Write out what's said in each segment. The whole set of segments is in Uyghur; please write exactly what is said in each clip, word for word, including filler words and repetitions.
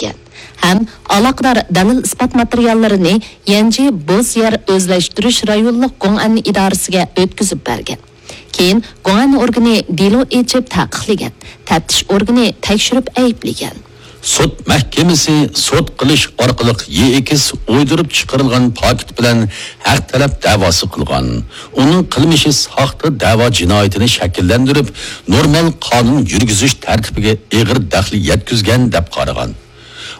ھەم ئالاقىدار دەلىل-ئىسپات ماتېرىياللىرىنى يەنجى بوز يەر ئۆزلەشتۈرۈش رايونلۇق گوڭئەن ئىدارىسىگە ئۆتكۈزۈپ بەرگەن. كېيىن گوڭئەن ئورگىنى دېلو ئېچىپ تەقىقلىگەن، تەپتىش ئورگىنى تەكشۈرۈپ ئەيىبلىگەن. سوت مەھكىمىسى سوت قىلىش ئارقىلىق يېئېكس ئويدۇرۇپ چىقىرىلغان پاكىت بىلەن ھەق تەلەپ دەۋاسى قىلغان. ئۇنىڭ قىلمىشى ساختا دەۋا جىنايىتىنى شەكىللەندۈرۈپ، نورمال قانۇن يۈرگۈزۈش تەرتىپىگە ئېغىر دەخلى يەتكۈزگەن دەپ قارىغان.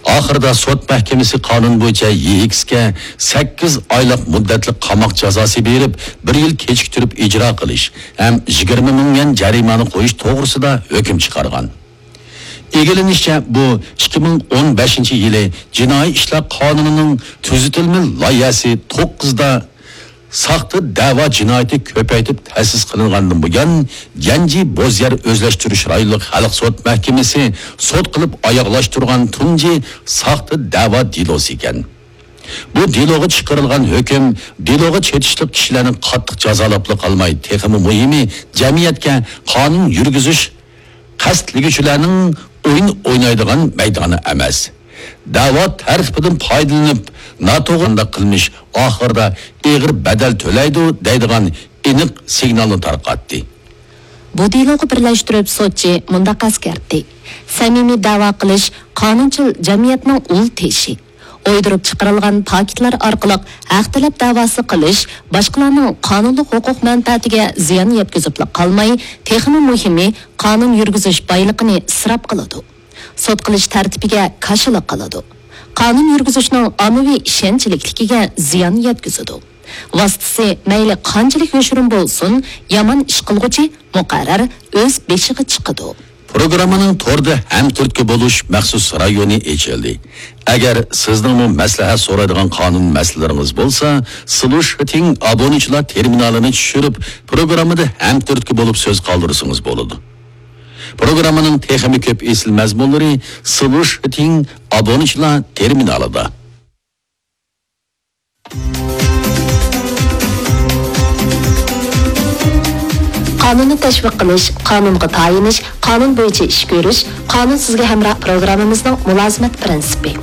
ئاخىرىدا سوت مەھكىمىسى قانۇن بويىچە يېئېكسكە سەككىز ئايلىق مۇددەتلىك قاماق جازاسى بېرىپ، بىر يىل كېچىكتۈرۈپ ئىجرا قىلىش ھەم يىگىرمە مىڭ يۈەن جەرىمانە قويۇش توغرىسىدا ھۆكۈم چىقارغان. ئىگىلىنىشىچە، بۇ ئىككى مىڭ ئون بەشىنچى يىلى جىنايى ئىشلار قانۇنىنىڭ تۈزىتىلمە لايىھەسى توققۇزدا ساختا دەۋا جىنايىتى كۆپەيتىپ تەسىس قىلىنغاندىن بۇيان، يەنجى بوز يەر ئۆزلەشتۈرۈش رايونلۇق خەلق سوت مەھكىمىسى سوت قىلىپ ئاياغلاشتۇرغان تۇنجى ساختا دەۋا دېلوسى ئىكەن. بۇ دېلوغا چىقىرىلغان ھۆكۈم دېلوغا چېتىشلىق كىشىلەرنى قاتتىق جازالاپلا قالماي، تېخىمۇ مۇھىمى، جەمئىيەتكە قانۇن يۈرگۈزۈش قەستلىگۈچىلەرنىڭ ئويۇن ئوينايدىغان مەيدانى ئەمەس. دەۋا تەرتىپىدىن پايدىلىنىپ، ناتوغرا قىلمىش ئاخىرىدا ئېغىر بەدەل تۆلەيدۇ، دەيدىغان ئېنىق سىگنالنى تارقاتتى. بۇ دېلوغا بىرلەشتۈرۈپ سوتچى مۇنداق ئەسكەرتتى: سەمىمىي دەۋا قىلىش قانۇنچىل جەمئىيەتنىڭ ئۇل تېشى. ئويدۇرۇپ چىقىرىلغان پاكىتلار ئارقىلىق ھەق تەلەپ دەۋاسى قىلىش باشقىلارنىڭ قانۇنلۇق ھوقۇق مەنپەئەتىگە زىيان يەتكۈزۈپلا قالماي، تېخىمۇ مۇھىمى، قانۇن يۈرگۈزۈش بايلىقىنى ئىسراپ قىلىدۇ. سوت قىلىش تەرتىپىگە كاشىلا قىلىدۇ. قانۇن يۈرگۈزۈشنىڭ ئاممىۋى ئىشەنچلىكلىكىگە زىيان يەتكۈزىدۇ. ۋاسىتىسى مەيلى قانچىلىك يوشۇرۇن بولسۇن، يامان ئىش قىلغۇچى مۇقەررەر ئۆز بېشىغا چىقىدۇ. پروگراممىنىڭ توردا ھەمتۈرتكە بولۇش مەخسۇس رايونى ئېچىلدى. ئەگەر سىزنىڭمۇ مەسلىھەت سورايدىغان قانۇن مەسىلىلىرىڭىز بولسا، سلۇشىتىڭ ئابۇنىچىلار تېرمىنالىنى چۈشۈرۈپ، پروگراممىدا ھەمتۈرتكە بولۇپ سۆز قالدۇرسىڭىز بولىدۇ. پروگراممىنىڭ تېخىمۇ كۆپ ئېسىل مەزمۇنلىرى سلۇشىتىڭ ئابۇنىچىلار تېرمىنالىدا. قانۇننى تەشۋىق قىلىش، قانۇنغا تايىنىش، قانۇن بويىچە ئىش كۆرۈش، قانۇن سىزگە ھەمراھ پروگراممىمىزنىڭ مۇلازىمەت پىرىنسىپى.